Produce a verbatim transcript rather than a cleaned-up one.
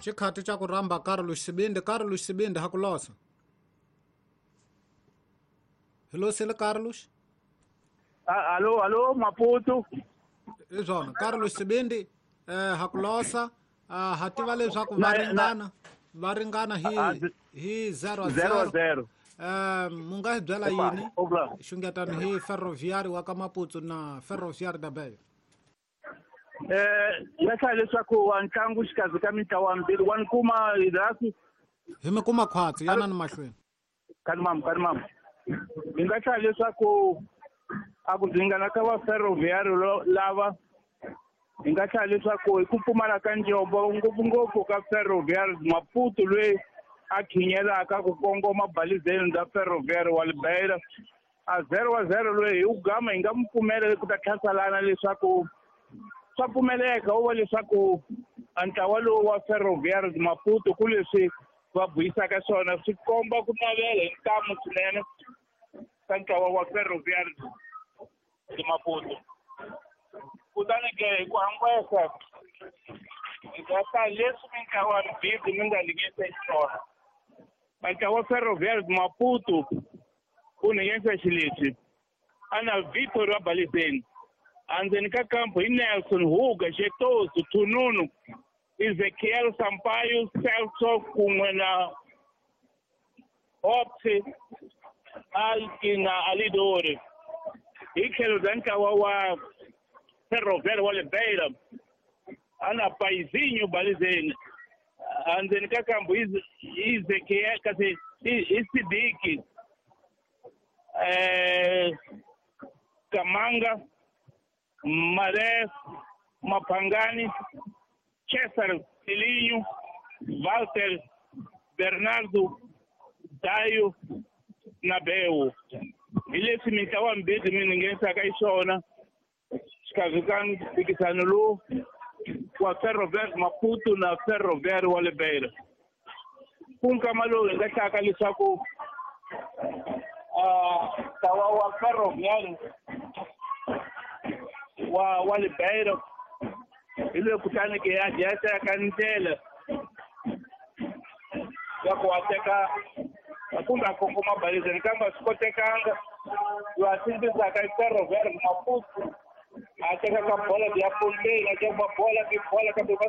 Xikhati xa ku rhamba Carlos Sibindi. Carlos Sibindi ha ku losa. Hi losile Carlos? Alo, alo, Maputo. Hi swona Carlos Sibindi eh ha ku losa. Ha tiva leswaku va ringana va ringana hi hi zero zero. Eh mu nga hi byela yini xungetano hi Ferroviário wa ka Maputo na Ferroviário da Beira? Eh ya hlaya leswaku wa ntlangu xikarhi ka mintlawa mbirhi wa ni kuma hi hi mi kuma khwatsi yana ni mahlweni. Kani mama, kani mama. Hi nga hlaya leswaku a ku ringana ka va Ferroviário lava hi nga hlaya leswaku hi ku pfumala ka njombo ngopfungopfu ka Ferroviário Maputo loyi a khinyelaka ku kongoma balizeni bya Ferroviário wa Beira a zero wa zero loyi hi ku gama hi nga mu pfumela ku ta tlhasalana leswaku swa pfumeleka wu va leswaku a ntlawa lowu wa Ferroviário Maputo ku leswi va buyisaka swona swi komba ku navela hi ntamu swinene ka ntlawa wa Ferroviário Maputo. Kutani ke hi ku hambesa hi nga ta leswi mintlawa mbirhi mi nga lingesa xiswona. Ntlawa wa Ferroviário Maputo u nghenisa xileswi a na Vitor wa Balizeni andzeni ka kampo hi Nelson Huga Xetoso Thununu Ezekiel Sampaio Celso kun'we na Hopsi Alki na Alidori. Hi tlhelo bya ntlawa wa Ferroviário wa le Beira a na Paizinho Balizeni andzeni ka kampo hi Ezekiel kasi hi Sidiki eh Kamanga Marés Mapangani César Filinho Walter Bernardo Dayo na Beu. Hi leswi mintlawa mbirhi mi nghenisaka hi swona xikarhi ka mphikizano lowu wa Ferroviário Maputo na Ferroviário wa le Beira. Ku nkama lowu hi nga hlaka leswaku ntlawa wa Ferroviário wa wa le Beira hi loyi kutani ke ya ya teka ndlela ya ku wa teka kumbe a kongoma balizeni kambe a swi kotekanga. Loyi a sindzisaka i Ferroviário Maputo a teka ka bola ya ponteni a teka bola ti bola kambe va